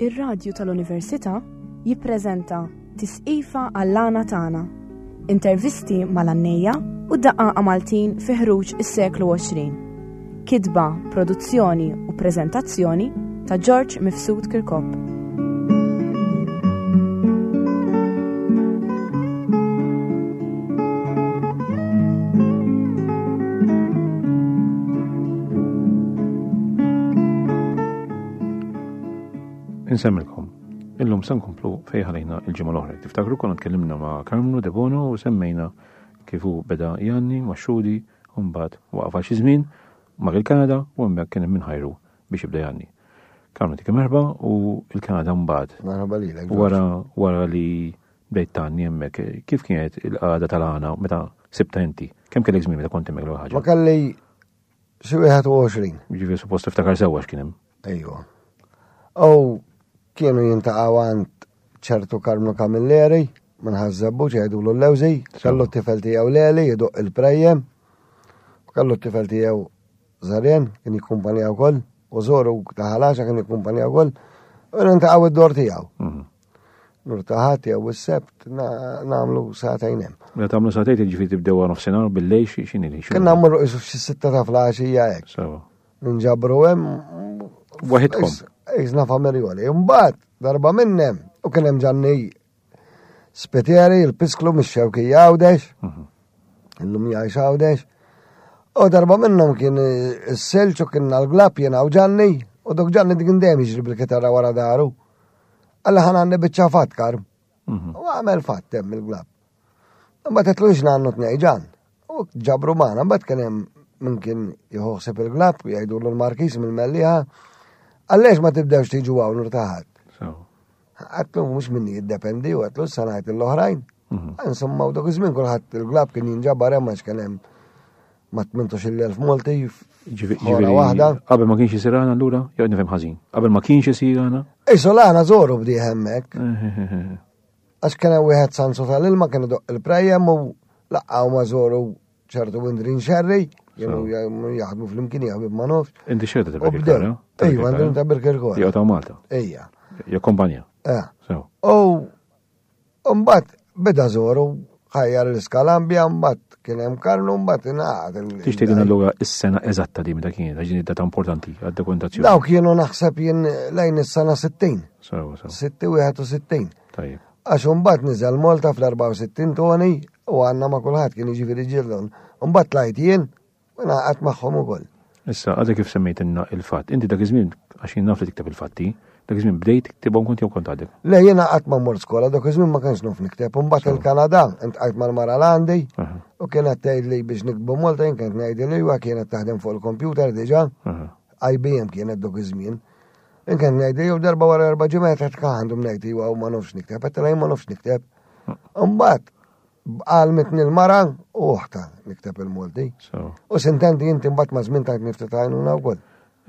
Ir-Radju tal-Università jippreżenta Tisqifa għall-għana tagħna. Intervisti mal-għannejja u daqqaqa Maltin fi ħruġ is-seklu 20. Kitba, produzzjoni u preżentazzjoni ta' George Mifsud Kirkop. Insemmilkom, illum se nkomplu fejn ħalejna il-ġimgħa l-oħra. Tiftakru konna tkellimna ma' Karmnu Debono u semmejna kif hu beda jgħanni ma' Xudi u mbagħad waqaf għal xi żmien mar il-Kanada u hemmhekk kien hemm minħajru biex jibda jgħanni. Karmnu dik merħba u il-Kanada mbagħad. Merħba lilek. Wara wara li bdejt tgħanni hemmhekk, kif kienet il-qagħda tal-għana meta sibta inti? Kemm kellek żmien meta kont hemmhekk l-ewwel ħaġa? Ma kelli xi 21. Ġifieri suppost tiftakar sewwa x'kien hemm. Ejwa. U kienu jintaqgħu għand ċertu Karmnu Camilleri minn Ħaż-Żebbuġ jgħidulu l-Lewżi, kellu t-tifel tiegħu Leli jduq il-prejjem, kellu t-tifel tiegħu Zarjen kien jikkumpanja wkoll, u Zoru ta' Ħalaxa kien jikkumpanja wkoll, u nintaqgħu id-dor tiegħu. Mhm. Nur taħat jew is-sebt nagħmlu sagħtejn hemm. Meta tagħmlu sagħtejn jiġifieri tibdew għal nofsinhar bil-lejl x'inhi li? Kien nagħmlu qisu f'xi sitta ta' flaxija hekk. Sewa. Ninġabru hemm. Waħidkom. Iżna familjoli. Imbagħad darba minnem u kien hemm Ġanni Spitieri, il-pisklu mix-xewkija Għawdex. Mhm. Illum jgħix Għawdex. U darba minnhom kien is-selċ u kien l-glab jiena u Ġanni u dok Ġanni dik dejjem jiġri bil-kitarra wara daru. Alla ħan għandi biċċa fatt karm. Mhm. U għamel fatt hemm il-glab. Imbagħad qed lux għandu tnej ġan. U ġabru magħna, mbagħad kien hemm min kien jħossib il-glab, jgħidu l-Markis mill-Mellieħa. Għallex ma tibdewx tiġu hawn urtaħat. Għatlu mhux minni jiddependi u għatlu sanajt l-oħrajn. Mhm. Insomma, u dak iż-żmien kulħadd il-glab kien jinġabar hemm għax kien hemm ma 18,000 Malti Ġifieri waħda. Qabel ma kienx isir għana allura, jew nifhem ħażin. Qabel ma kienx isir għana? Isu l-għana żoru bdieħ hemmhekk. Għax kien hemm wieħed Sansu tal-ilma kien idoq il-prejjem u laqgħu ma żoru ċertu Windrin Sherry, kienu jaħdmu fl-imkien jaħbib ma nofx. Inti xerta ta' Birkirkara? Ejwa, għandhom ta' Birkirkara. Jew ta' Malta. Ejja. Jakkompanja. Eh. U mbagħad beda żoru ħajjar l-iskalambja, mbagħad kien hemm Karlu, mbagħad ingħaqad. Tix tgħidilna allura is-sena eżatta di meta kienet, għax din data importanti għad-dokumentazzjoni. Dawk kienu naħseb jien lejn is-sena 60. Sewa, sewa. 61. Tajjeb. Għax imbagħad niżel Malta fl-64 Tony u għandna ma' kulħadd kien jiġifieri ġildon. Imbagħad tlajt jien u ngħaqadt magħhom ukoll. Issa, għadek kif semmejtilna il-fatt, inti dak iż-żmien, għax jien naf li tikteb il-fatti, dak iż-żmien bdejt tiktibhom kont jew kont għadek? Le, jiena qatt ma mort skola, dak iż-żmien ma kienx naf nikteb. Imbagħad il-Kanada, intqajt mal-mara l-għandi u kienet tgħidli biex niktbu Malta, jien kont ngħidilha iwa kienet taħdem fuq il-kompjuter diġà. IBM kienet dak iż-żmien. Inkien ngħid jew darba wara erba' ġimgħat qed għandhom ngħid iwa u ma nafx nikteb, qed ma nafx nikteb. Imbagħad għalmitni l-mara u oħta nikteb il-Malti. U sintendi inti mbagħad ma' żmien tajt nifti tajnuna wkoll.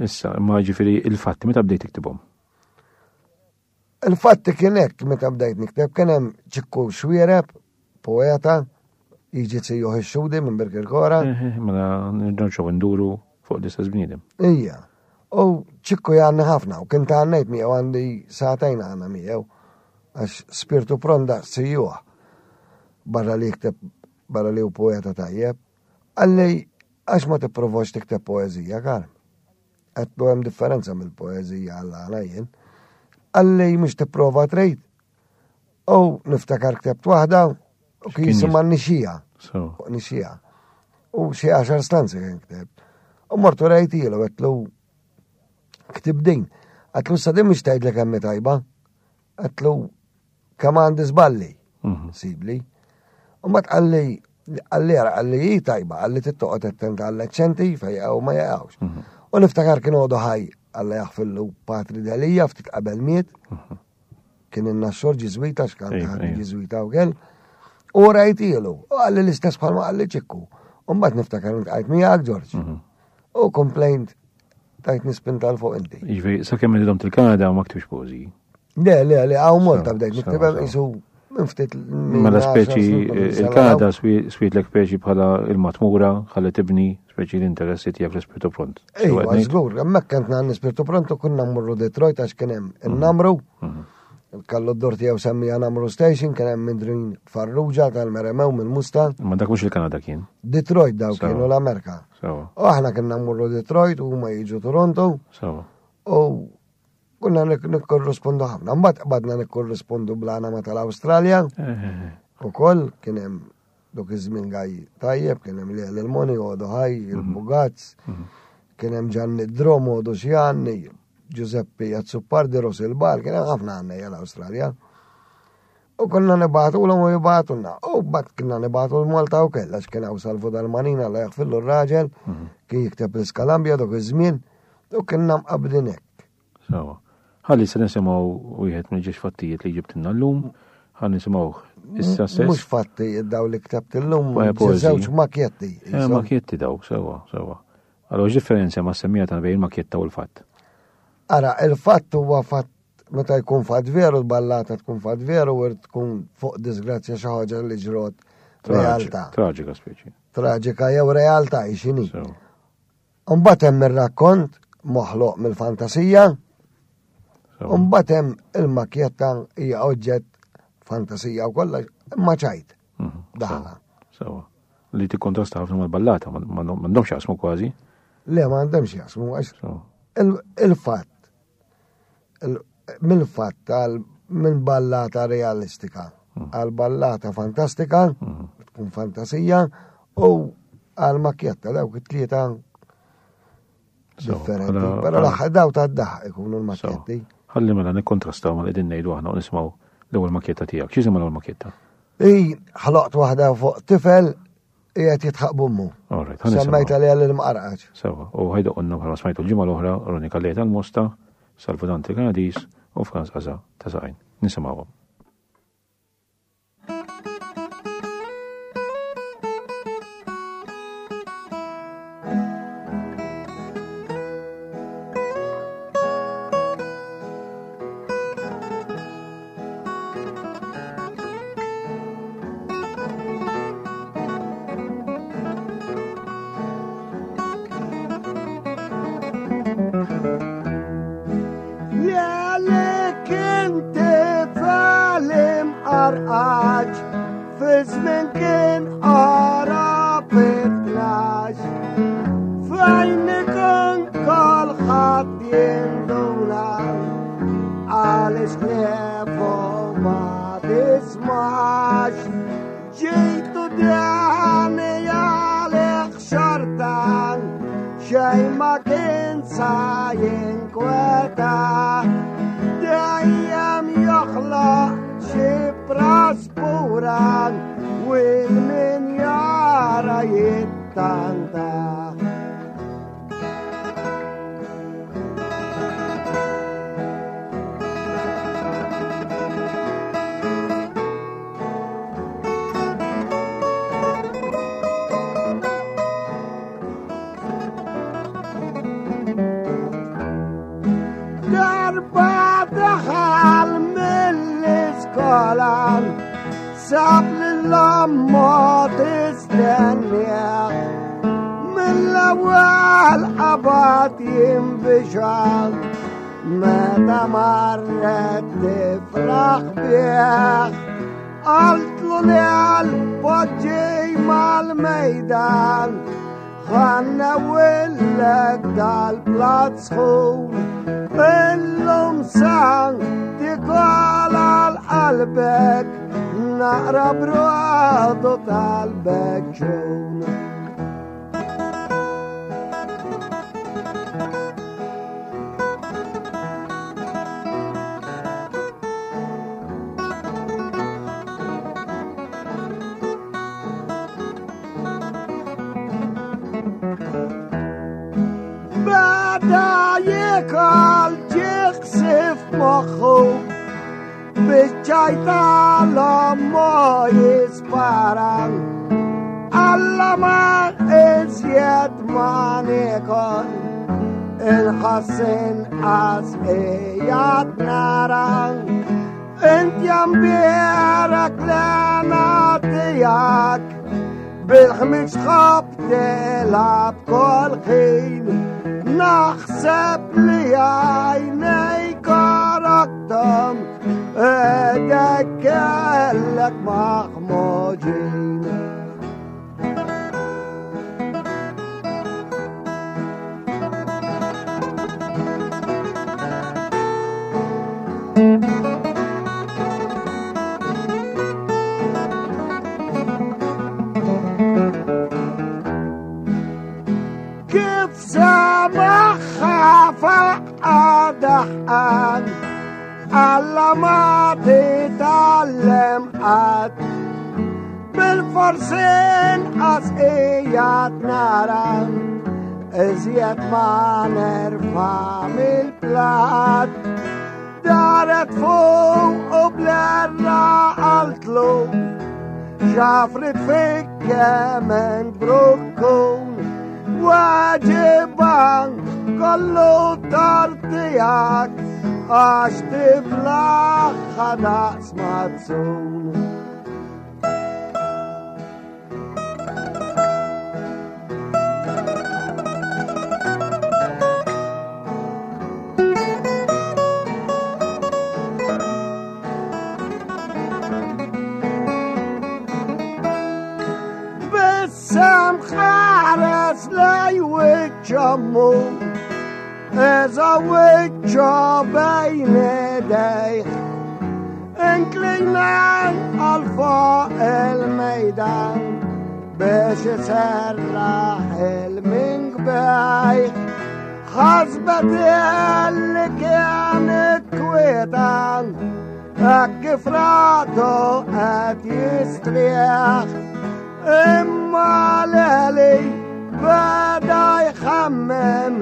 Issa, imma ġifieri il-fatti meta bdejt tiktibhom? Il-fatti kien hekk meta bdejt nikteb kien hemm Ċikku Xwiereb, poeta, jiġi zijuh ix-xudi minn Birkirkora. Eh, eh, mela nerġgħu nduru fuq l-istess bniedem. Ija. U ċikku jgħanni ħafna u kien ta' għannejt miegħu għandi sagħtejn għandna miegħu għax spirtu pronda sijuh barra li jikteb barra li hu poeta tajjeb. Għalli għax ma tipprovax tikteb poeżija, Karm. Għedtlu hemm differenza mill-poeżija għall-għana jien. Għalli mhux tipprova trid. U niftakar ktebt waħda u kien jisimha nixija. Nixija. U xi għaxar stanzi kien kteb. U mortu rajtilu għedtlu ktib din. Għedtlu sa din mhux tgħidlek hemm tajba. Għedtlu kemm għandi żballi. Mhm. Sibli. U ma tqalli għalli għara għalli hi tajba, għalli tittoqgħod attent għall-eċċenti fejn jaqgħu ma jaqgħux. Mhm. U niftakar kien għodu ħaj għalla jaħfillu Patri Delija ftit qabel miet. Mhm. Kien inna xor ġiżwita x'kan ġiżwita u kell. U rajtilu, u għalli l-istess bħalma għalli ċikku. U mbagħad niftakar ntqajt miegħek Ġorġ. U complaint tajt nispinta l fuq inti. Jiġifieri sakemm inti domt il-Kanada ma ktibx poeżiji. Le, le, le, għaw Malta bdejt nikteb jisu. Minn ftit. Mela speċi il-Kanada switlek speċi bħala il-matmura ħalli tibni speċi l-interessi tiegħek l-ispirtu pront. Ejwa, żgur, hemmhekk kien għandna spirtu pront u kunna mmorru Detroit għax kien hemm mhm. in-namru. Mhm. Kallu d-dur tiegħu semmija Namru Station, kien hemm Mindrin Farrugia tal-Meremew mill-Musta. Ma dak mhux il-Kanada kien. Detroit daw kienu l-Amerika. U aħna kienna mmorru Detroit u huma jiġu Toronto. U Kunna nikkorrispondu ħafna. Mbagħad qbadna nikkorrispondu blana ma tal-Awstralja. Eh, eh, eh. Ukoll kien hemm dok iż-żmien gaj tajjeb, kien hemm Leel il-Moni, Odo Ħaj, mhm. il-Bugazz, mhm. kien hemm Ġanni Drom, Odo Xjanni, Giuseppe Azzupardi, Ros il-Bar, kien hemm ħafna għandna l-Awstralja. U konna nibatu l u jibatulna. U bat kienna nibatu l-Malta u kella, x'kien hawn Salvu Dal-Manina la jaħfillu r-raġel, mhm. kien jikteb l-Iskalambja dok iż-żmien, u kienna mqabdin hekk. Sawa. Ħalli se nisimgħu wieħed mill-ġiex fattijiet li ġibtilna llum, ħalli nisimgħu issa stess. Mhux fatti daw li ktabt illum, żewġ makjetti. Eh, makjetti dawk, sewa, sewa. Allora x'differenza ma' semmija ta' bejn il-makjetta u l-fatt? Ara, il-fatt huwa fatt meta jkun fatt veru, l-ballata tkun fatt veru, u tkun fuq disgrazzja xi ħaġa li ġrot realtà. Traġika speċi. Traġika jew realtà x'inhi. Mbagħad hemm ir-rakkont moħloq mill-fantasija. Mbagħad hemm il-makjetta hija oġġett fantasija u kollox, imma ċajt. Mhm. Daħla. Sewa. Li tikkontrasta ħafna mal-ballata, m'għandhomx jaqsmu kważi. Le, m'għandhomx jaqsmu għax il-fatt mill-fatt tal minn ballata realistika hmm. għal ballata fantastika, hmm. tkun fantasija, u għal makjetta dawk it-tlieta differenti. Però l-aħħar daw ta' daħ ikunu l-makjetti. Ħalli mela nikkontrastaw ma' qegħdin ngħidu aħna u nismgħu l-ewwel makjetta tiegħek. X'jisimha l-ewwel makjetta? I ħloqt waħda fuq tifel Qiegħed jitħaq b'ommu. Semmejt għaliha lil mqarqaġ. Sewa, u ħajdoqonna bħalma smajtu l-ġimgħa l-oħra Ronnie Calleja tal-Mosta, Salvu Dante Kanadis u Franz Qaza ta' Saqajn. Nisimgħuhom. Sab lill-ommu tistennieh mill-ewwel qabad jinbixal meta marret tifraħ bih qaltlu li għal-poġġi mal-mejdan ħanna willek dal-plat sħun illum san tikol għal qalbek naqra brodu tal-beċun. Bada jikol ġiqsif moħħu biċċajta l-ommu jisparan. Alla ma iżjed ma nikol il-ħassin għas ijat naran. Int jambierek l-għana tijak, bil-ħmiġ tħobb tilgħab kol ħin. Naħseb li għajnejk għaraqtom, idek kellek maħmuġin. Kif semaħħa faqqa daħqan, Alla ma titgħallem qatt. Bil-forsi inqas qiegħed nara, iżjed ma nerfa' mill-plat. Daret fuq u blerra qaltlu, xafrit fik kemm int brukkun. Waġiban kollu tort tiegħek, għax tiblaħħa daqs mazzun. Bissem ħares lej wiċċ ommu, eża wiċċu bejn idejh. Inklinan għal fuq il-mejdan biex iserraħ il-minkbejh. Ħasbet li kienet kwietan, hekk kif ratu qed jistrieħ. Imma Leli beda jħammem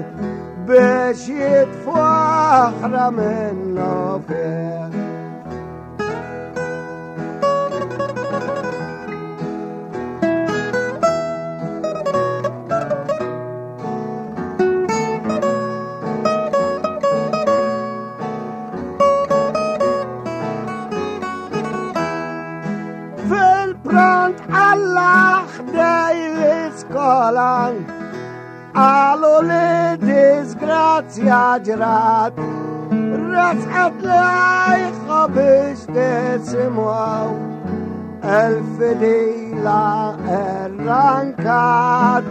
biex jitfu oħra minnu fih. Fil-pront Allah ħdej l-iskola, qalu li disgrazzja ġrat, resqet lejħa biex tisimgħu, il-fidila errankat.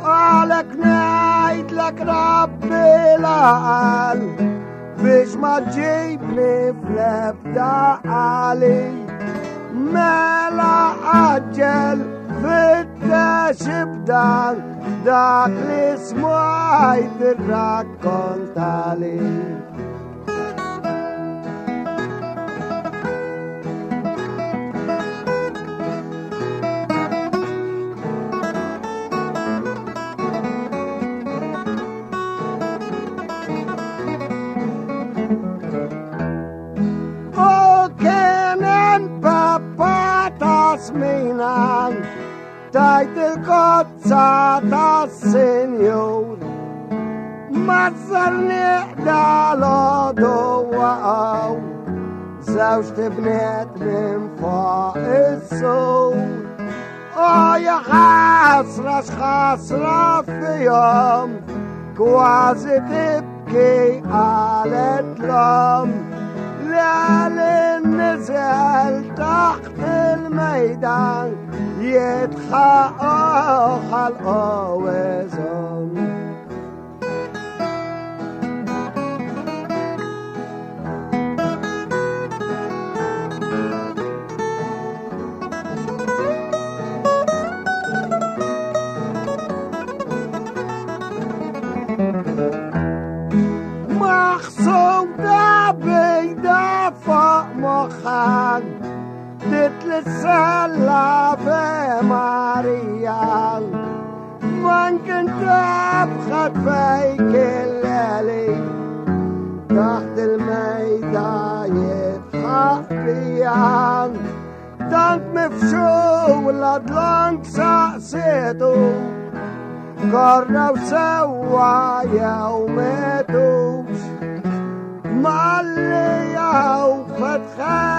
Għalek ngħidlek rabbi l-għaqal, biex ma ġibni fl-ebda għali. Mela għaġġel fittex ibdan dak li smajt irrakkontali. Tasminan, tajt il-kozza tas-senjur, mazzar nieqda l-għodu waqgħu, żewġ tibniet minn fuq is-sur. O ja ħasra x'ħasra fihom, kważi tibki qalet l-omm. L-għalin niżel taħt il-mejdan, jitħaqu ħalqu iżomm. Maħsuda bejda fuq moħħan, titlisella fe Marija. Man kien tebħet fejk il-leli, taħt il-mejda jitħaq bijan. Tant mifxu l-adlank saqsitu, korraw sewwa jew metux. Malli jew fetħet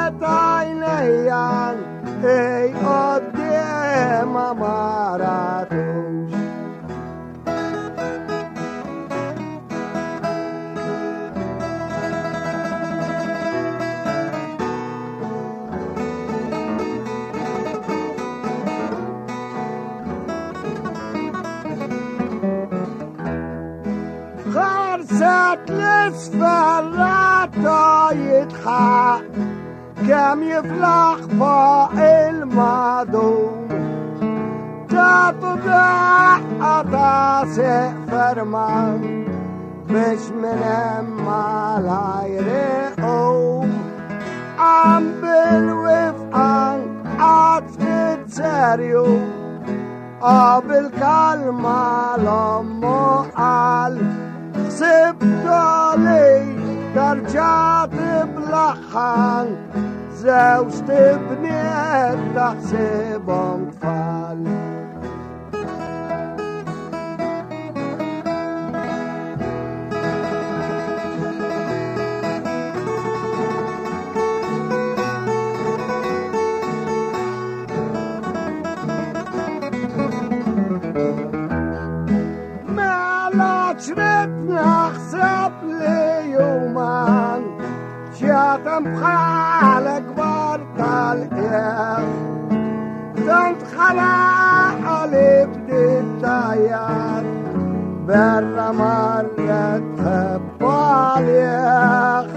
Ħarset l-isfel rata jitħaq kemm jiflaħ fuq il-madum. Tatu daqqa ta' seq ferman biex minn hemm malajr iqum. Qam bil-wifqan qatt ftit serju Qabel kalma l-ommu qal Ħsibtu li tarġa' tiblaħħan Żewġ tibniet taħsibhom tfal. Mela ċrid naħseb li juman ċjatem bħal kbar tal-qiegħ. Tant ħala li bdiet tajjar berra marret tħebb għalih.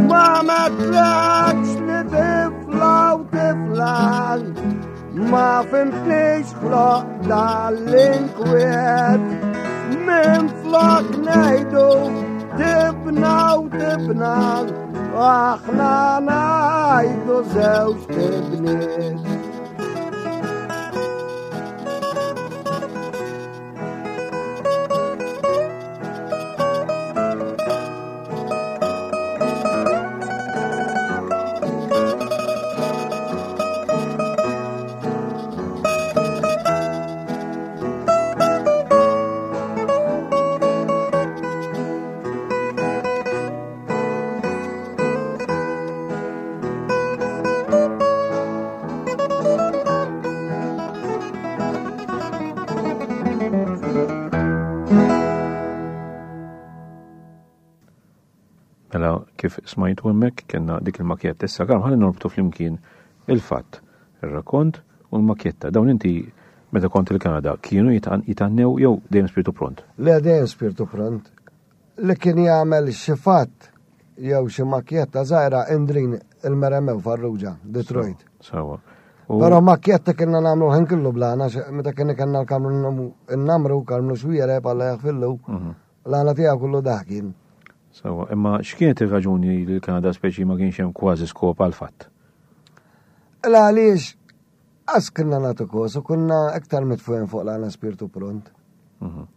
Ma metlekx li tifla u tiflan Ma fimtnix ħloq dal-inkwiet Minn flok nejdu tibna u tibna Aħna najdu zewġ tibniet Mela kif smajtu hemmhekk kellna dik il-makjetta issa kemm ħalli norbtu flimkien il-fatt, ir-rakkont u l-makjetta. Dawn inti meta kont il-Kanada kienu jitannew jew dejjem spiritu pront? Le dejjem spiritu pront. Li kien jagħmel xi fatt jew xi makjetta żgħira Indrin il-Meremew Farrugia, Detroit. Sawa. Però makjetta kienna nagħmlu ħin kollu blana, meta kien kellna l-kamru n-namru, karmnu xwiere, palla jaħfillu, mhm. l-għana tiegħu kollu dak kien. Sawa, imma x'kienet ir-raġuni li l-Kanada speċi ma kienx hemm kważi skop għal fatt? La għaliex Għas kinna nagħtu kos u kunna iktar mitfuħin fuq l-għana spirtu pront. Mhm.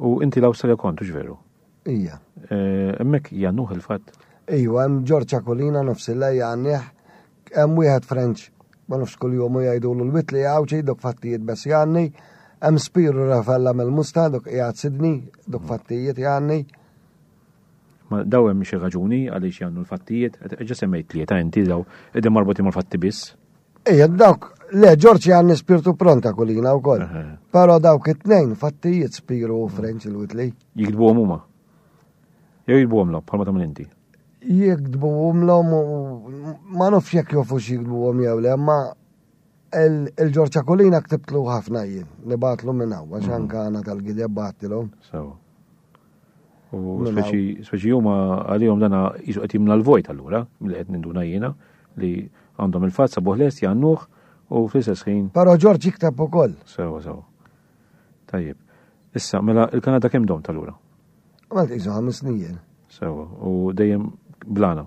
U inti l-Awstralja kont, veru? Ija. Eh, hemmhekk jannuh il-fatt? Ijwa, hemm Ġorġ Akulina nofs il-lejja għannieh, hemm wieħed French, ma nafx kuljum u jgħidulu l-witli Għawdxi, dok fattijiet bes jgħanni, hemm Spiru Rafella mill-Musta, dok qiegħed Sydney, dok mhm. fattijiet jgħanni. Ma daw hemm xi raġuni għaliex jgħannu l-fattijiet, ġa semmejt tlieta inti daw qegħdin marbutin mal-fatti biss. Ejja, dawk, le, Ġorġ għanni spirtu pronta kulina u koll. Pero dawk it-tnejn, fattijiet spiru u French il-witli. Jikdbu huma. Jew jikdbu l bħalma tagħmel inti. Jikdbu l ma nafx jekk jofux jikdbu għom jew le, ma il-Ġorġ Kulina ktibtlu ħafna jien, nibatlu minn hawn, għax mhm. anka għana tal-gideb battilhom. Sewa. U speċi speċi huma għalihom dana jisu qed jimla l-vojt allura, milli qed ninduna jiena li għandhom il-fatt sabuh lest jgħannuh u fl-istess ħin. Però Ġorġ jikteb ukoll. Sewa sewa. Tajjeb. Issa, mela il-Kanada kemm dom tal-ura? Għamilt qisu ħames snin. Sewa, u dejjem blana.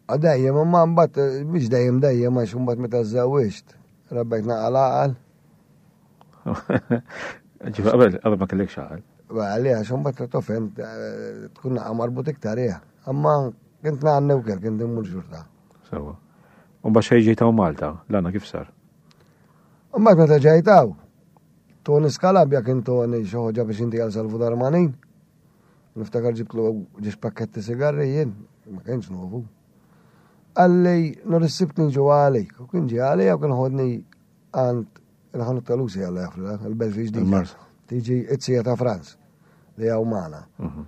Dejjem, imma mbagħad mhux dejjem dejjem għax imbagħad meta żżewwiġt, rabbejt naqal għaqal. Ġifa, qabel, qabel ma kellek xaqal. Għalli, għax mbagħad tofhem eh, tkun naqa' marbut iktar hija. Amma kint nagħanni wkoll kint immur xorta. Sewa. U mbagħad xejn ġejtaw Malta, l-għana kif sar? Mbagħad meta ġejtaw, Tony Scalabja kien Tony xi ħoġa biex inti għal Salvu Darmanin. Niftakar ġibtlu ġiex pakketti sigarri jien, ma kienx novu. Għalli, nur is-sibt niġu għalik, u kien ġi għalija u kien ħodni għand il-ħanut tal-Lucy għalla jafrila, il-belt ġdida. Tiġi it-sija ta' Franz li għaw maħna. Mhm.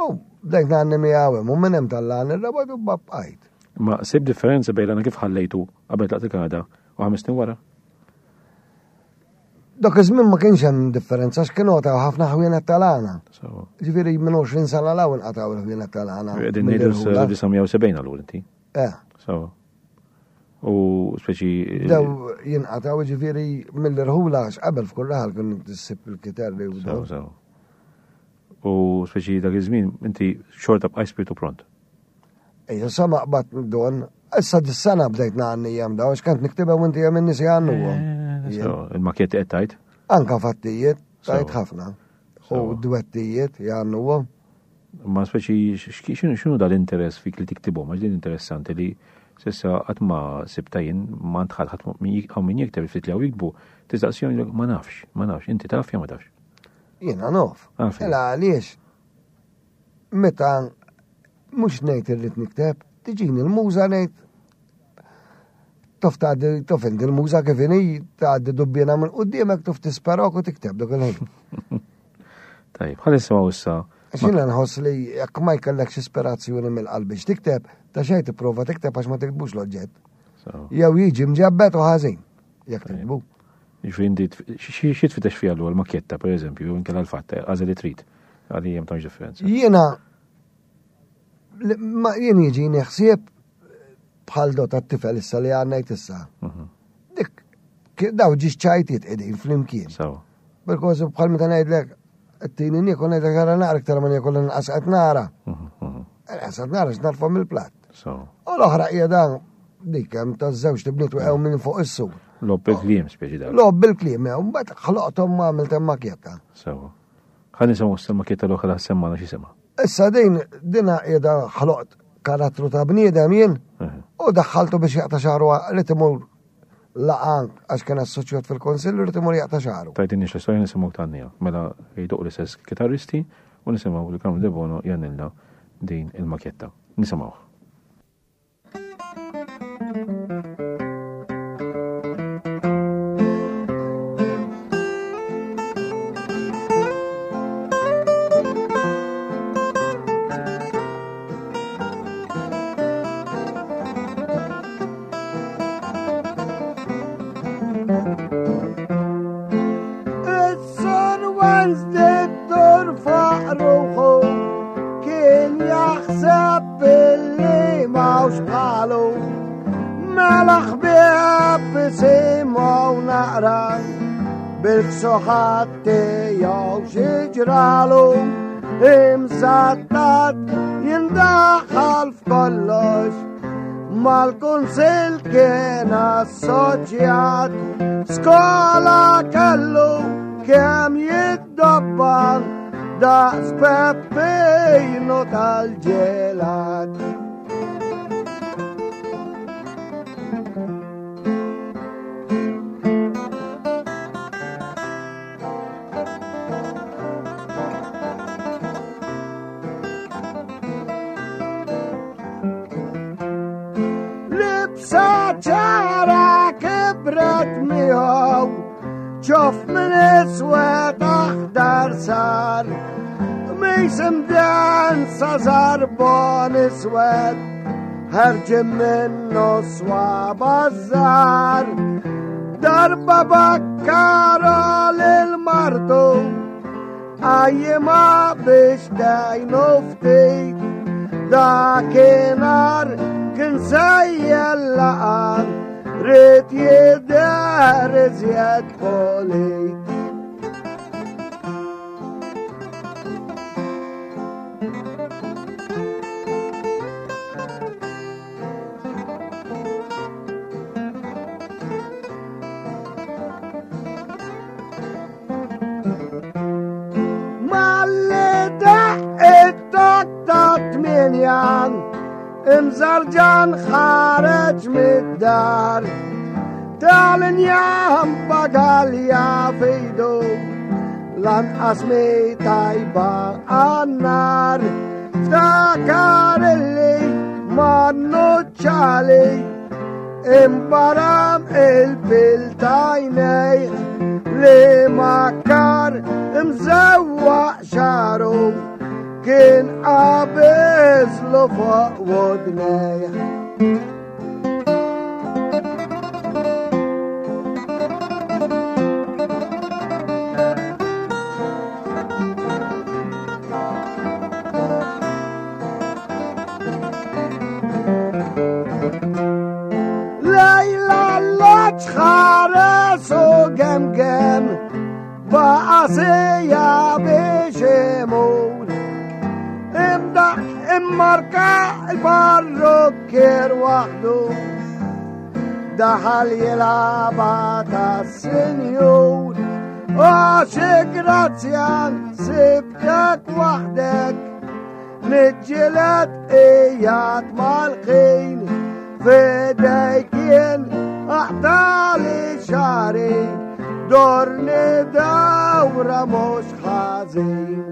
U bdejt għanni mi għawem, u minnem tal-għan il-rabat u babqajt. Ma sib differenza bejn għana kif ħallejtu qabel tlaqt il-Kanada u ħames snin wara? Dak iż-żmien ma kienx hemm differenza għax kienu qatgħu ħafna ħwienet tal-għana. Ġifieri minn 20 sena l hawn qatgħu l-ħwienet tal-għana. Qegħdin ngħidu 1970 allura inti. Eh. Sewa. U speċi. Dew jinqatgħu ġifieri mill-irħula għax qabel f'kull raħal kien tissib il-kiterri u daw. Sew. U speċi dak iż-żmien inti xorta bqaj spiritu pront. Ejja, sa ma qbad don, issa dis-sena bdejt ngħanni jem daw, għax kont niktibha u inti jem in-nies jgħannuhom. Eh, il-makjetti qed tajt? Anka fattijiet, tajt ħafna. U dwettijiet jgħannuhom. Ma speċi x'inhu dal-interess fik li tiktibhom, għax din interessanti li sissa qatt ma sibta jien ma ntħal ħadd hawn min jikteb ftit li hawn jiktbu, tistaqsihom ma nafx, ma nafx, inti taf jew ma tafx. Jiena naf. Mela għaliex meta mhux ngħid irrid nikteb, tiġini l-muża ngħid tof tgħaddi tof inti l-muża kif inhi tgħaddi dubbiena minn quddiemek tof tisperok u tikteb dak il-ħin. Tajjeb, ħalli nisimgħu issa. Għax jiena nħoss li jekk ma jkellekx ispirazzjoni mill-qalb biex tikteb, ta' xejn tipprova tikteb għax ma tiktbux l-oġġett. Jew jiġi mġebbed u ħażin jekk tiktbu. Jiġifieri inti xi tfittex fiha l makjetta pereżempju, jew inkella l-fatt, għażel li trid. Għalli hemm tantx differenza. Jiena jien jiġini ħsieb bħal do tat-tifel issa li għannajt issa. Mhm. Dik daw ġiex ċajtiet qegħdin flimkien. Because bħal meta ngħidlek t-tini niekol ngħidlek għara naqra iktar ma niekol inqas qed nara. Mhm, mhm. Inqas qed nara x'narfa mill-platt. U l-oħra qiegħda dik hemm taż-żewġ tibniet waqgħu minn fuq is-sur. Lob bil-kliem speċi dak. Lob bil-kliem, mbagħad ħloqthom ma għamilt hemm makjetta. Sewa. Ħa nisimgħu issa l-makjetta l-oħra semmana x'isimha. Issa din dina qiegħda ħloqt karattru ta' bniedem jien u daħħaltu biex jaqta' xagħru li timur laqan għax kien assoċjat fil-konsill li timur jaqta' xagħru. Tajt nix l-istorja nisimgħu tgħannija. Mela jdoq l-istess kitarristi u nisimgħu li Carmen Debono jgħannilna din il-makjetta. Nisimgħuh. Bil-ksuħat tiegħu xi ġralu imsattat jindaħal f'kollox mal-kunsil kien assoċjat skola kellu kemm jiddobban daqs Peppino tal-ġelat. Libsa ċara kibret miegħu ċof minn iswed aħdar sar Mis imdensa zarbon iswed ħarġin minnu swaba żgħar Darba bakkara lil martu Għajjima biex dajnu ftit Dakinhar kien sejjel laqan Rrid jidher iżjed polit. Imżarġan ħareġ mid-dar Tal-injam bagalja fejdu Lanqas mi tajba għannar Ftakar illi ma nuċċali Imbaram il-pil tajnej li makar imżewwaq xaru kien qabeżlu fuq wodnej. Ta' biex imur. Imdaħ immarka il-parrukkier waħdu. Daħal jilaba ta' sinjur. Għax grazzjan sibtek waħdek. Niġġieled qiegħed mal-ħin. F'idejk jien aqtali xagħri. Dorni dawra mhux ħażin.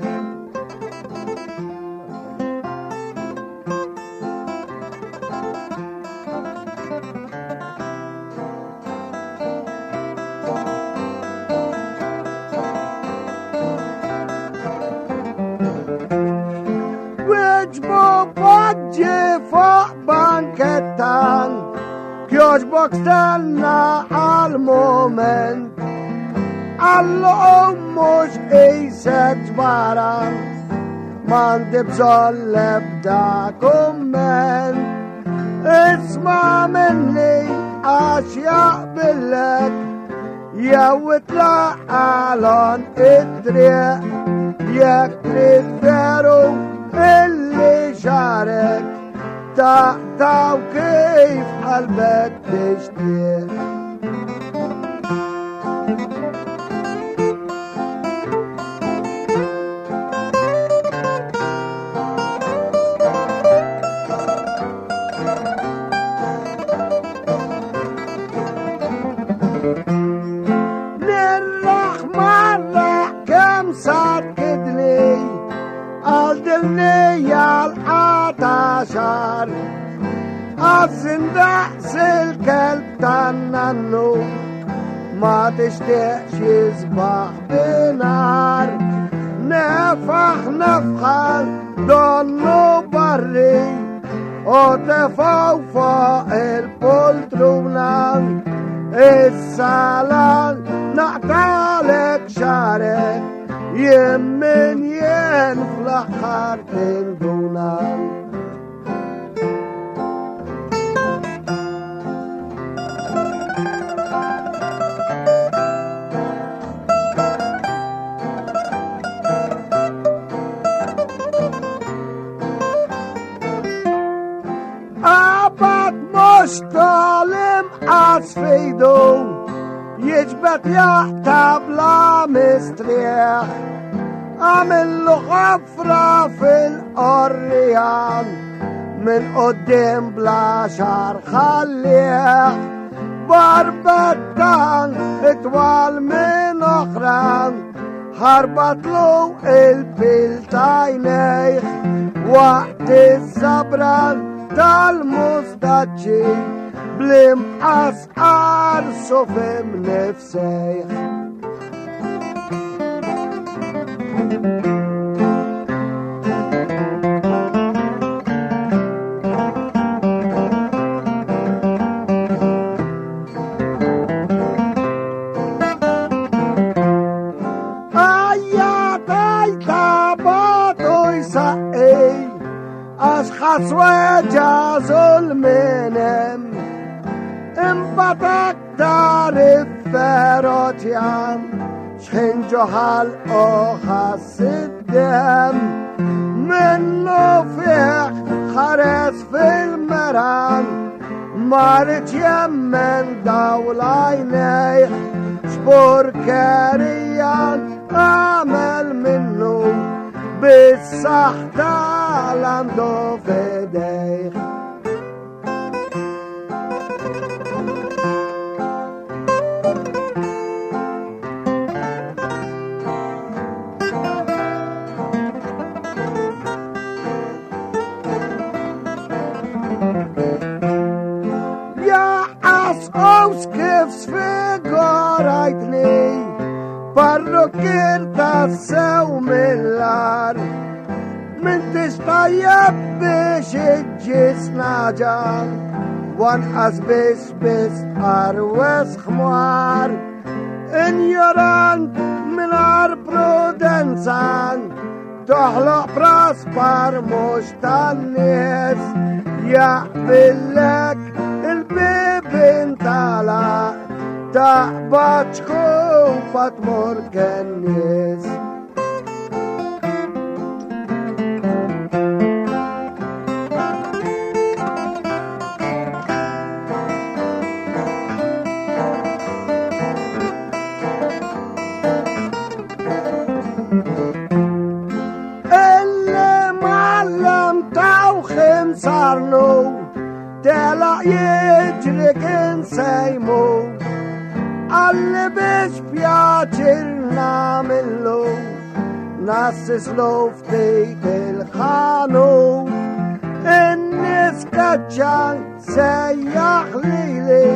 Wieġbu poġġi fuq bankettan, kjoġbok stenna għal-moment. Għallu mux qisek ġbaran, m'għandi bżonn l-ebda kumment. Isma' minni għax jaqbillek, jew itlaq għalon id-triq, jekk trid veru illi xarek, taqtaw kif qalbek tixtieq. Għaxar Għazzin daqs il-kelb tan-nannu ma tixtieqx jisbaħ binar. Nefaħ nefħal donnu barri u tefaw fuq il-poltruna. Is-salan naqtalek xarek jien min jien fl-aħħar tinduna. Qabad mhux tal-imqas fejdu, jiġbed jaqta' bla mistrieħ. Għamillu ħafra fil-qorrijan, minn quddiem bla xar ħallieħ. Barbettan itwal minn oħran, ħarbatlu il-pil tajnejh. Waqt iż-żabran tal-mustaċċi, bl-imqas qarsu fim nifsejh. Ħasweġa zulminem, imbagħad aktar ifferoċjan, xħin ġoħal u ħass id-dem. Minnu fih ħares fil-meran, ma rridx jemmen dawl għajnejh, x'purkerija għamel minnu bis-saħħ tal-għandu f'idejh. Jaqas kif sfigurajtni, parrukkir tassew mill-ar. M'intix tajjeb biex iġġis naġan, wanqas biex biss arwes ħmar. Injorant mingħajr prudenza, toħloq praspar mhux tan-nies. Jaqbillek il-bibien tagħlaq, taqbad xkuf Tuffa tmur kennies. Telaq jiġri kien sejmu Għalli biex pjaċir namillu Nassislu ftit il-ħanu In-nies kaċċan sejjaħ lili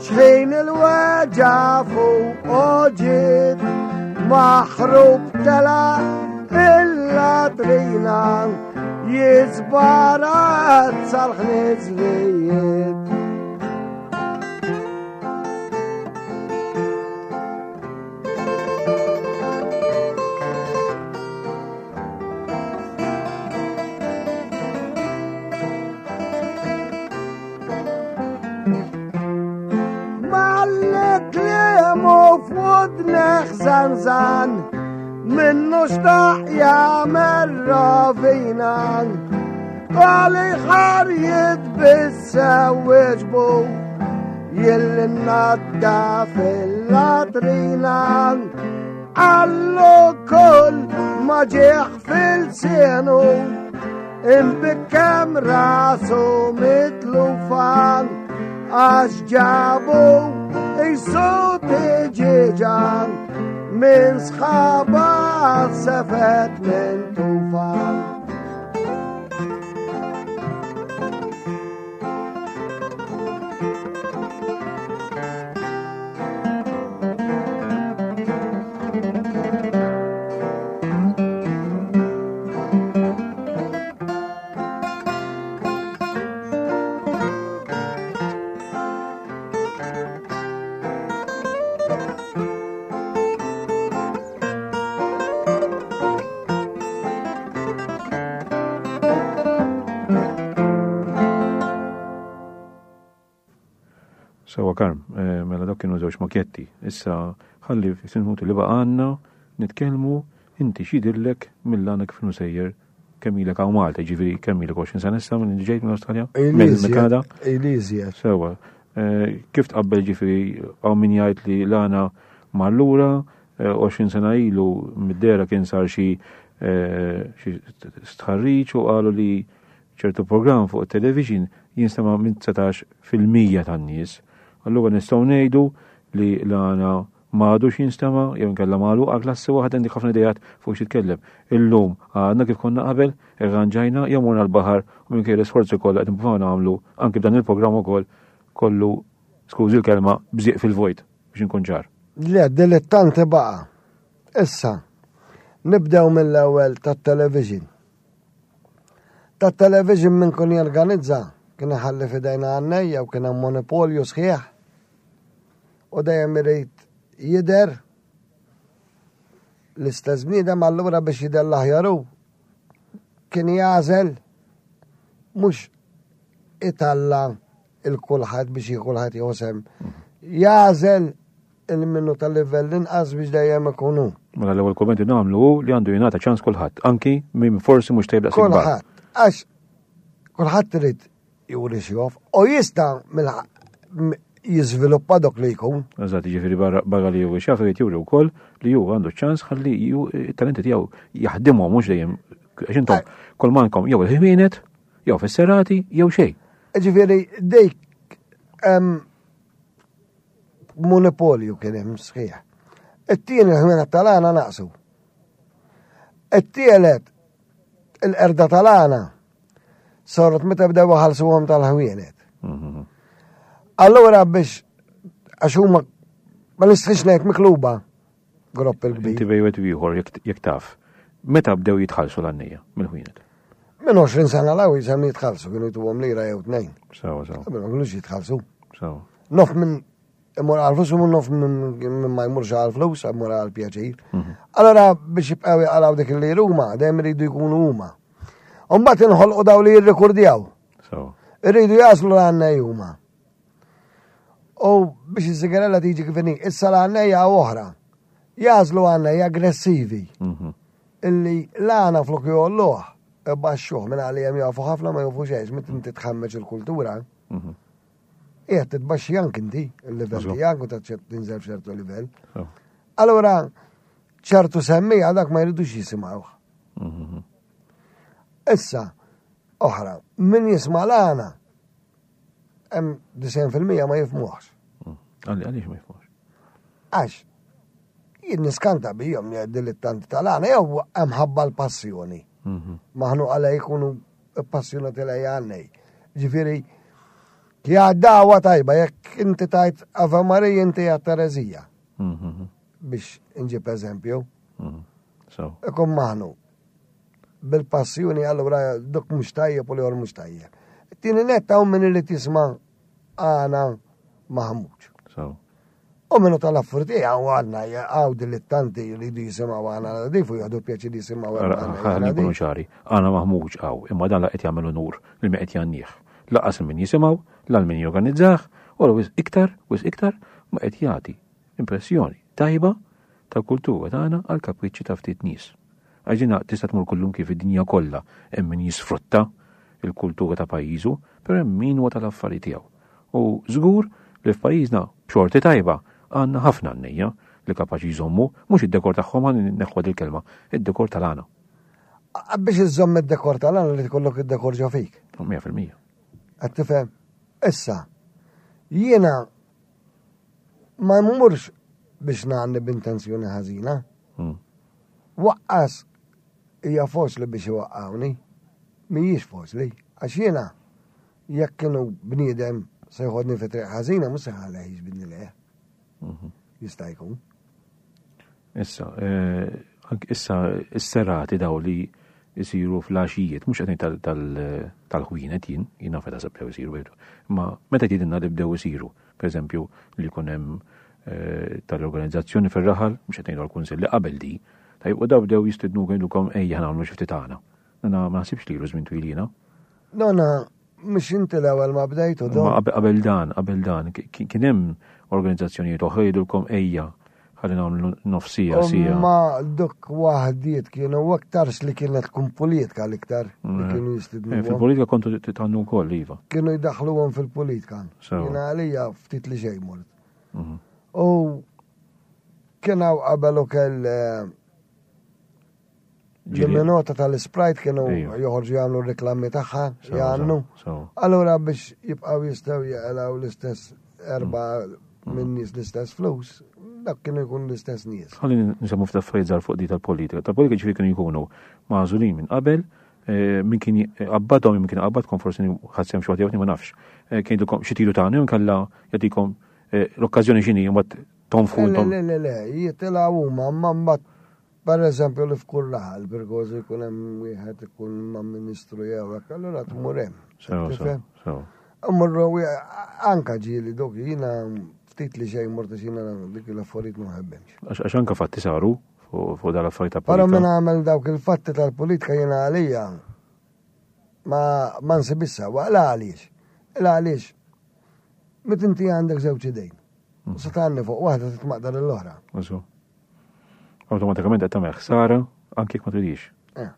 Xħin il-weġa fuq oġiet Maħrub tela il-latrina Jizbarat sal-ħniżlijiet. F'wudneħ zanzan minnu xtaq jagħmel rovina għali ħarjiet bissew wieġbu jilli nadda fil-latrina għallu kull ma ġieħ fil-sienu Imbikkem rasu mitlufan għax ġabu jisu tiġiġan minn sħaba sefet minn tufan. Sewa Karm, eh, mela dok kienu żewġ makjetti. Issa ħalli fis-minuti li baqgħanna nitkellmu inti x'jidhirlek mill-għana kif sejjer kemm ilek hawn Malta, ġifieri kemm ilek 20 sena issa minn ġejt minn Awstralja? Minn Kanada? Ili Sewa. Eh, kif tqabbel ġifieri hawn min jgħid li l-għana mar lura 20 eh, sena ilu mid-dera kien sar xi eh, stħarriġ u qalu li ċertu programm fuq it-television jinstema' minn 19% tan-nies. Allura nistgħu ngħidu li l-għana ma għadux jinstema' jew inkella magħluqa klassi waħda għandek ħafna idejat fuq xi tkellem. Illum għadna kif konna qabel, irranġajna jew morna l-baħar u minkejja l-isforzi kollha qed nippruvaw nagħmlu anki b'dan il-programm ukoll kollu skużi l-kelma bżieq fil-vojt biex inkun ċar. Le, dilettanti baqa. Issa, nibdew mill-ewwel tat-television. Tat-television minn kun jorganizza kien iħalli f'idejna għannejja u kien hemm monopolju sħiħ u dejjem irid jidher l-istess bniedem allura biex jidher l-aħjar hu kien jagħżel mhux italla il-kulħadd biex kulħadd jieħu sehem. Jagħżel il-minnu tal-livell inqas biex dejjem ikunu. Mela l-ewwel kummenti nagħmlu hu li għandu jingħata ċans kulħadd, anki min forsi mhux tajjeb daqs Kulħadd, għax kulħadd irid juri xjof u jista' jiżviluppa dok li jkun. Eżatt, jiġifieri barra li juri xjaf irid juri wkoll li hu għandu ċans ħalli it-talenti tiegħu jaħdimhom mhux dejjem għax intom eh. kol mankom jew il-ħwienet, jew fis-serati, jew xejn. Ġifieri dik monopolju kien hemm sħiħ. It-tieni l-ħwienet tal-għana naqsu. It-tielet il-qerda tal-għana Sorot meta bdew iħallsuhom tal-ħwienet. Mhm. Allura biex għax huma ma nistħix ngħid mikluba gropp il-kbir. Inti bejwet ieħor jekk taf. Meta bdew jitħallsu l-għannija mill-ħwienet? Minn 20 sena l jisem jitħallsu, kienu jtuhom lira jew tnejn. Sawa, sawa. Qabel ma kienux jitħallsu. Sawa. Nof minn imur għal-flus u nof minn ma jmurx għal-flus, imur għal-pjaċir. Mhm. Allora biex jibqgħu jaqalaw dik li huma, dejjem iridu jkunu huma. Umbat inħolqu daw li jirrikordjaw. Irridu jaslu l-għanna huma. U biex iż-żigarella tiġi kif inhi, issa l-għannejja oħra. Jagħżlu għannejja aggressivi. Mhm. Illi l-għana flok jolluh, baxxuh minn għalihom jafu ħafna ma jafu xejn, meta inti tħammeġ il-kultura. Mhm. Qiegħed titbaxxi anke inti il-livell tiegħek u tinżel f'ċertu livell. Allura ċertu semmija dak ma jridux jisimgħuh. Mhm. Issa, oħra, min jisma' l-għana, hemm 90% ma jifmuħx. Mm. Għaliex ma jifmuħx? Għax, jien niskanta bijom li dilettanti tal-għana, jew hemm ħabba l-passjoni. Mhm. Maħnu għala jkunu passjonati lej għannej. Ġifieri, kja dawa tajba, jekk inti tajt Ave Maria inti għat Terezija. Mhm. Biex nġib eżempju. Mhm. Ikun maħnu. Bil-passjoni allura duk mhux tajjeb u l-ieħor mhux tajjeb. Tieni nett hawn min irid jisma' għana maħmuġ. U minnu tal-affurti għaw għanna għaw dilettanti li jridu jisimaw għana nadif u jgħadu pjaċi li jisimaw għana. Ħalli nkunu ċari, għana maħmuġ għaw, imma dan la qed jagħmel unur li ma qed jannih. Laqas min jisimaw, l min jorganizzah, u l iktar, wis iktar ma qed jagħti impressjoni tajba tal-kultura tagħna għal kapriċċi ta' ftit nies. Għax dina tista' tmur kullum kif id-dinja kollha hemm min jisfrutta il-kultura ta' pajjiżu, però hemm min huwa tal-affari tiegħu. U żgur li f'pajjiżna b'xorti tajba għandna ħafna għannejja li kapaċi jżommu mhux id-dekor tagħhom ħa neħħu il-kelma, id-dekor tal-għana. Biex iżżomm id-dekor tal-għana li tkollok id-dekor ġo fik. 100%. Qed tifhem? Issa, jiena ma mmurx biex ngħanni b'intenzjoni ħażina. Hmm. Waqqas hija faċli biex iwaqqawni. Mhijiex faċli, għax jiena jekk kienu bniedem se jħodni fi triq ħażina mhux se ħalleh jiġbidni lejh. Mhm. Jista' jkun. Issa, eh, issa is-serati daw li jisiru fl-għaxijiet, mhux qed tal-ħwienet jien, jien naf meta bdew isiru, ma meta tgħidilna li bdew isiru, pereżempju li jkun hemm eh, tal-organizzazzjoni fir-raħal, mhux qed ngħidu għall-kunsill li qabel di, tajjeb u daw bdew jistidnu jgħidulkom ejja nagħmlu xi ftit tagħna. Ma naħsibx li ilu żmien twil jiena. Nona, mhux inti l-ewwel ma bdejtu don. Ma qabel dan, qabel dan, kien hemm organizzazzjonijiet oħra jgħidulkom ejja ħalli nagħmlu nofsija sija. Ma dok waħdiet kienu aktarx li kienet tkun politika l-iktar li mm. kienu jistidnu. Eh, fil-politika kontu titgħannu wkoll iva. Kienu jdaħħluhom fil-politika. Jiena għalija ftit li xejn mort. Mhm. U kien hawn qabel ukoll eh, L-minota tal-Sprite kienu joħorġu jagħmlu reklami tagħha, jgħannu. Allura biex jibqgħu jistgħu jaqilgħu l-istess erba' mm. minn nies l-istess flus, dak kienu jkunu l-istess nies. Ħalli nsemmu ftit affarijiet żgħar fuq di tal-politika. Tal-politika ġifieri kienu jkunu magħżulin minn qabel, eh, min kien qabbadhom, min kien qabbadkom forsi ħadd sehem xi waħda ma nafx. Eh, kien jgħidulkom xi tidu tagħna inkella jagħtikom eh, l-okkażjoni x'inhi mbagħad tonfħu intom. Le, le, le, jitilgħu huma ma mbagħad Per eżempju li f'kull raħal perkoż ikun hemm wieħed ikun ma' ministru jew hekk, allura tmur hemm. Sew, Mmorru anka ġieli dok jiena ftit li xejn mort għax jiena dik l-affarijiet ma nħebbhemx. Għax anka fatti saru fuq dal-affarijiet ta' politika. Però minn għamel dawk il-fatti tal-politika jiena għalija ma ma nsibix sewwa. La għaliex? La għaliex? Meta inti għandek żewġ idejn. Mm. Se tgħanni fuq waħda titmaqdar l-oħra. Awtomatikament qed tagħmel ħsara anke jekk ma tridix. Eh.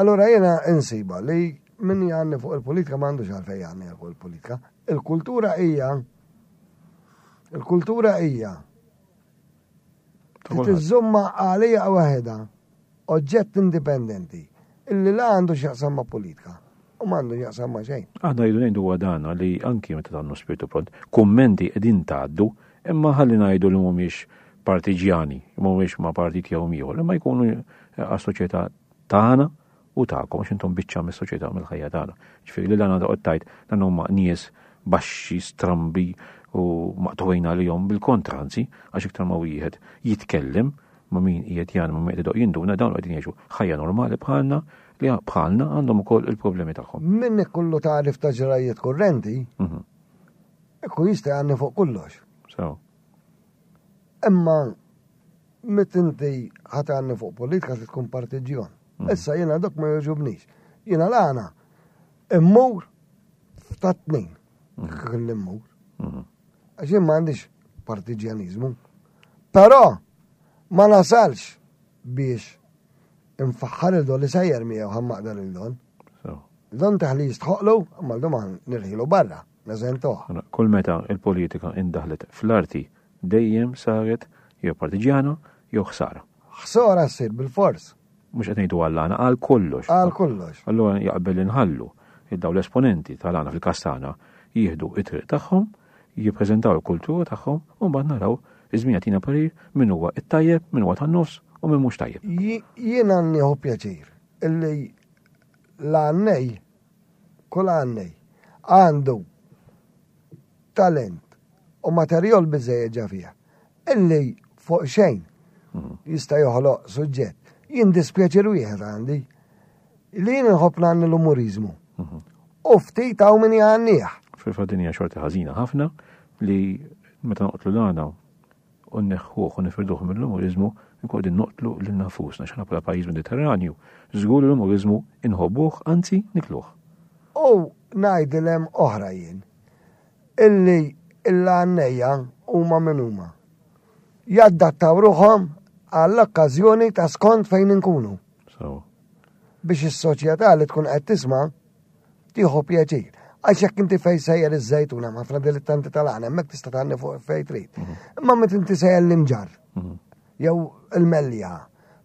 Allura jiena insiba li min jgħanni fuq il-politika ma għandux għalfejn jgħanni fuq il-politika. Il-kultura hija il-kultura hija tiżżomma għalija waħedha oġġett indipendenti illi la għandu x'jaqsam ma' politika u ma għandu x'jaqsam ma' xejn. Aħna jridu ngħidu huwa dan li anki meta tagħmlu spiritu pront, kummenti qegħdin tgħaddu, imma ħalli ngħidu li mhumiex partiġjani, mhumiex ma' partit jew ieħor, imma jkunu għas-soċjetà tagħna u tagħkom għax intom biċċa mis-soċjetà mill-ħajja tagħna. Ġifieri li dan għandha tajt dan huma nies baxxi, strambi u maqtuħin għalihom bil-kontra anzi, għax iktar ma wieħed jitkellem ma' min qiegħed jgħan ma' min qed idoq jinduna dawn qegħdin jgħixu ħajja normali bħalna li bħalna għandhom ukoll il-problemi tagħhom. Min ikollu tagħrif ta' ġrajiet kurrenti, mhm. ikun jista' jgħanni fuq kollox. So. Imma met inti ħatanni fuq politika li tkun partiġjon. Mhm. Issa jiena dok ma jogħġobnix. Jiena l-għana immur ta' tnejn. Mhm. Kelli mmur. Għax jien m'għandix partiġjaniżmu. Però ma nasalx biex infaħħar il-don li sejjer miegħu ħammaqdar il-don. Don taħli jistħoqlu, imma l-dum nirħilu barra, neżentuh. Kull meta il-politika indaħlet fl-arti dejjem saret jew partiġjana jew ħsara. Ħsara ssir bil-fors. Mhux qed ngħidu għall-għana, għal kollox. Għal kollox. Allura jaqbel li nħallu daw l-esponenti tal-għana fil-kastana jieħdu it-triq tagħhom, jippreżentaw il-kultura tagħhom u mbagħad naraw iż-żmien jagħtina parir min huwa it-tajjeb, min huwa tan-nofs u min mhux tajjeb. Jiena nieħu pjaċir illi l-għannej, kull għannej, għandu talent u materjal biżejjed ġa fih. Illi fuq xejn mhm. jista' joħloq suġġett. Jien dispjaċir wieħed għandi li jien inħobb nagħni l-umuriżmu. Mhm. U ftit hawn min jgħannih. Fil-fatt din hija xorti ħażina ħafna li meta noqtlu l-għana u nneħħuh u nifirduh mill-umuriżmu nkunu qegħdin noqtlu lil nafusna x'aħna bħala pajjiż Mediterranju. Żgur l-umuriżmu inħobbuh, anzi nikluh. U ngħidilhem oħra jien. Illi l-għannejja huma min huma. Jaddattaw ruħhom għall-okkażjoni ta' skont fejn inkunu. Biex is-soċjetà li tkun qed tisma' tieħu pjaċir. Għax jekk inti fej sejjer iż-żejtuna ma' ħafna dilettanti tal-għana, hemmhekk tista' tgħanni fuq fej trid. Mhm. Imma meta inti sejjer l-imġar, mhm. jew il-mellija,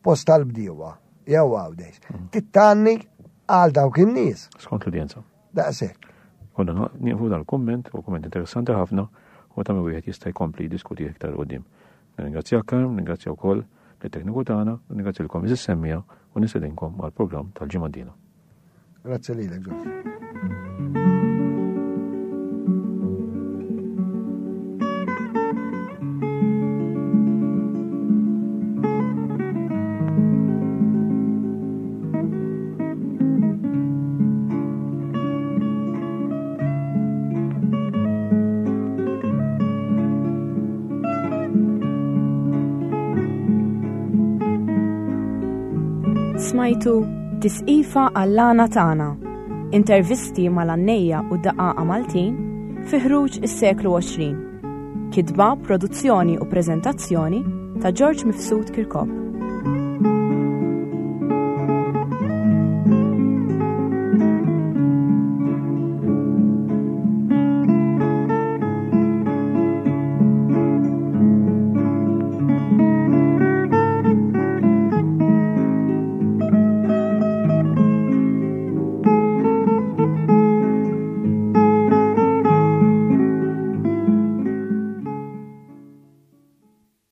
post tal-bdiewa, jew għawdex, mhm. tittanni għal dawk in-nies. Skont l-udjenza. Daqshekk. Konna nieqfu dal-kumment, u kumment interessanti ħafna, u ta' wieħed jista' jkompli jiddiskuti iktar qudiem. Nirringrazzjak Karm, nirringrazzja wkoll lit-tekniku tagħna, u nirringrazzja iżis semmija u nistedinkom għall-programm tal-ġimgħa d-dieħla. Grazzi lilek, Ġorġ. Smajtu Tisqifa għall-għana tagħna. Intervisti mal-għannejja u daqqaqa Maltin fi ħruġ is-seklu 20. Kitba, produzzjoni u preżentazzjoni ta' George Mifsud Kirkop.